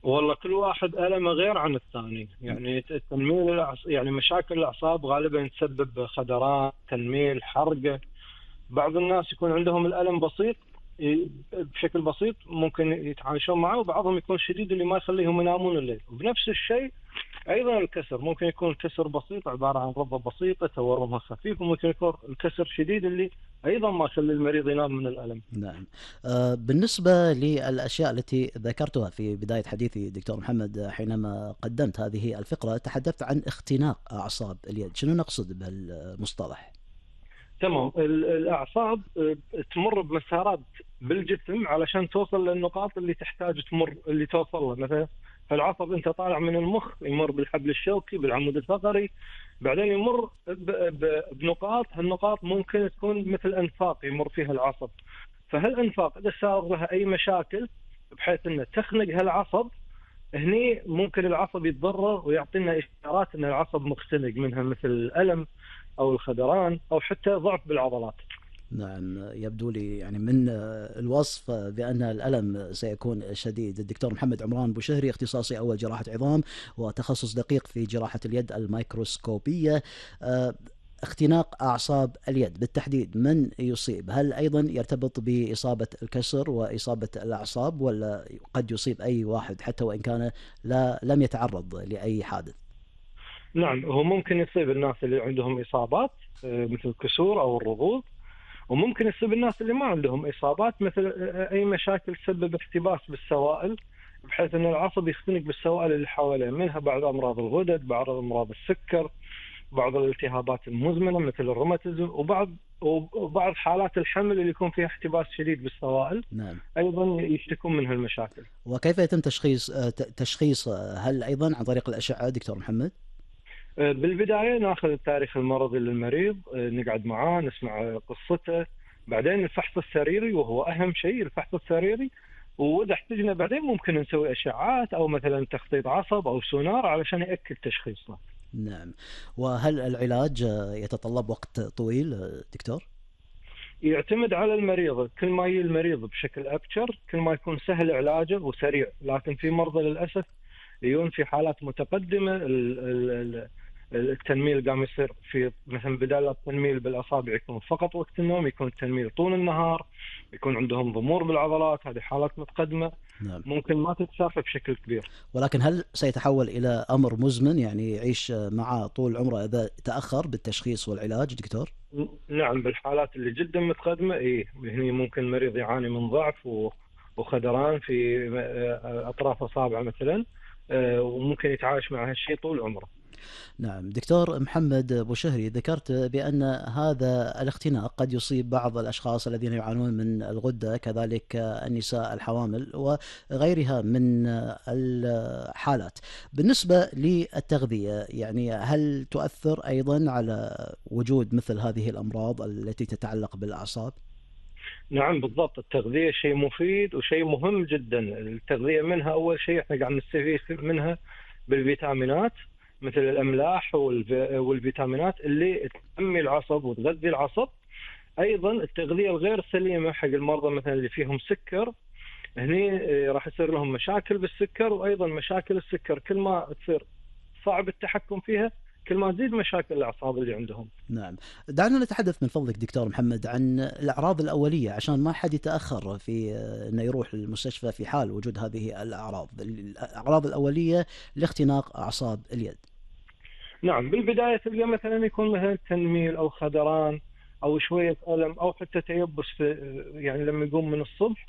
والله كل واحد ألمه غير عن الثاني، يعني تنميل يعني مشاكل الأعصاب غالبا تسبب خدران، تنميل، حرقة. بعض الناس يكون عندهم الألم بسيط، بشكل بسيط ممكن يتعايشون معه، وبعضهم يكون شديد اللي ما يخليهم ينامون الليل. وبنفس الشيء أيضا الكسر، ممكن يكون الكسر بسيط عبارة عن رضة بسيطة تورمها خفيف، وممكن يكون الكسر شديد اللي أيضا ما يخلي المريض ينام من الألم. نعم. بالنسبة للأشياء التي ذكرتها في بداية حديثي دكتور محمد، حينما قدمت هذه الفقرة تحدثت عن اختناق أعصاب اليد، شنو نقصد بهالمصطلح؟ تمام. الأعصاب تمر بمسارات بالجسم علشان توصل للنقاط اللي تحتاج تمر، اللي توصل له. مثلا فالعصب أنت طالع من المخ يمر بالحبل الشوكي، بالعمود الفقري، بعدين يمر بنقاط. هالنقاط ممكن تكون مثل أنفاق يمر فيها العصب. فهالأنفاق إذا صار لها أي مشاكل بحيث أنه تخنق هالعصب، هني ممكن العصب يتضرر ويعطينا إشارات أن العصب مختنق، منها مثل الألم أو الخدران أو حتى ضعف بالعضلات. نعم، يبدو لي يعني من الوصف بأن الألم سيكون شديد. الدكتور محمد عمران بوشهري، اختصاصي أول جراحة عظام وتخصص دقيق في جراحة اليد الميكروسكوبية. اختناق أعصاب اليد بالتحديد من يصيب؟ هل أيضا يرتبط بإصابة الكسر وإصابة الأعصاب، ولا قد يصيب أي واحد حتى وإن كان لم يتعرض لأي حادث؟ نعم، هو ممكن يصيب الناس اللي عندهم إصابات مثل الكسور أو الرضوض، وممكن يصيب الناس اللي ما عندهم إصابات مثل أي مشاكل تسبب احتباس بالسوائل، بحيث أن العصب يختنق بالسوائل اللي حواليه، منها بعض أمراض الغدد، بعض أمراض السكر، بعض الالتهابات المزمنة مثل الروماتيزم، وبعض حالات الحمل اللي يكون فيها احتباس شديد بالسوائل نعم. أيضا يشتكون من هالمشاكل. وكيف يتم تشخيص هل أيضا عن طريق الأشعة دكتور محمد؟ بالبداية ناخذ التاريخ المرضي للمريض، نقعد معاه نسمع قصته، بعدين الفحص السريري وهو أهم شيء، الفحص السريري. وإذا احتجنا بعدين ممكن نسوي أشعات أو مثلا تخطيط عصب أو سونار علشان يأكد تشخيصه. نعم. وهل العلاج يتطلب وقت طويل دكتور؟ يعتمد على المريض، كل ما يجي المريض بشكل أبشر كل ما يكون سهل علاجه وسريع. لكن في مرضى للأسف يجون في حالات متقدمة، التنميل قام يصير في مثلا بدال التنميل بالأصابع يكون فقط وقت النوم، يكون التنميل طول النهار، يكون عندهم ضمور بالعضلات. هذه حالات متقدمة نعم. ممكن ما تتشافى بشكل كبير. ولكن هل سيتحول إلى أمر مزمن يعني يعيش مع طول عمره إذا تأخر بالتشخيص والعلاج دكتور؟ نعم، بالحالات اللي جدا متقدمة هني ممكن المريض يعاني من ضعف وخدران في أطراف أصابعه مثلا، وممكن يتعايش مع هالشيء طول عمره. نعم. دكتور محمد بوشهري، ذكرت بأن هذا الاختناق قد يصيب بعض الأشخاص الذين يعانون من الغدة، كذلك النساء الحوامل وغيرها من الحالات. بالنسبة للتغذية، يعني هل تؤثر أيضا على وجود مثل هذه الأمراض التي تتعلق بالأعصاب؟ نعم بالضبط، التغذية شيء مفيد وشيء مهم جدا. التغذية منها أول شيء احنا قاعد نستفيد منها بالفيتامينات، مثل الأملاح والفيتامينات اللي تنمي العصب وتغذي العصب. أيضا التغذية الغير سليمة حق المرضى مثلا اللي فيهم سكر، هني راح يصير لهم مشاكل بالسكر. وأيضا مشاكل السكر كل ما تصير صعب التحكم فيها كل ما تزيد مشاكل الأعصاب اللي عندهم. نعم. دعنا نتحدث من فضلك دكتور محمد عن الأعراض الأولية عشان ما حد يتأخر في أنه يروح للمستشفى في حال وجود هذه الأعراض الأولية لاختناق أعصاب اليد. نعم، بالبداية تلقى مثلا يكون مثلا تنميل أو خدران أو شوية ألم أو حتى تيبس في، يعني لما يقوم من الصبح.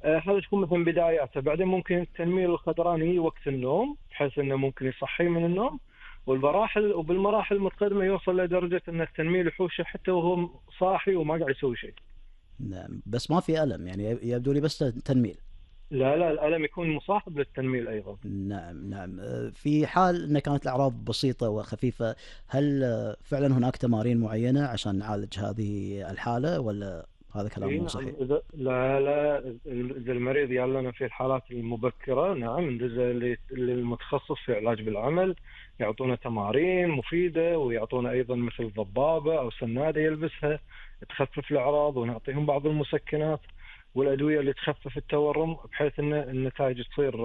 هذا تكون مثلا بداياته. بعدين ممكن التنميل والخدران يجي وقت النوم بحيث أنه ممكن يصحي من النوم. وبالمراحل المتقدمة يوصل لدرجة أن التنميل يحوشه حتى وهو صاحي وما قاعد يسوي شيء. نعم، بس ما في ألم يعني، يبدو لي بس تنميل. لا لا، الألم يكون مصاحب للتنميل أيضا. نعم. نعم. في حال أن كانت الأعراض بسيطة وخفيفة، هل فعلا هناك تمارين معينة عشان نعالج هذه الحالة، ولا هذا كلام مو نعم، صحيح؟ لا لا، إذا المريض يعلن في الحالات المبكرة نعم ندز للمتخصص في علاج بالعمل، يعطونا تمارين مفيدة ويعطونا أيضا مثل ضبابة أو سنادة يلبسها تخفف الأعراض، ونعطيهم بعض المسكنات والأدوية اللي تخفف التورم بحيث أن النتائج تصير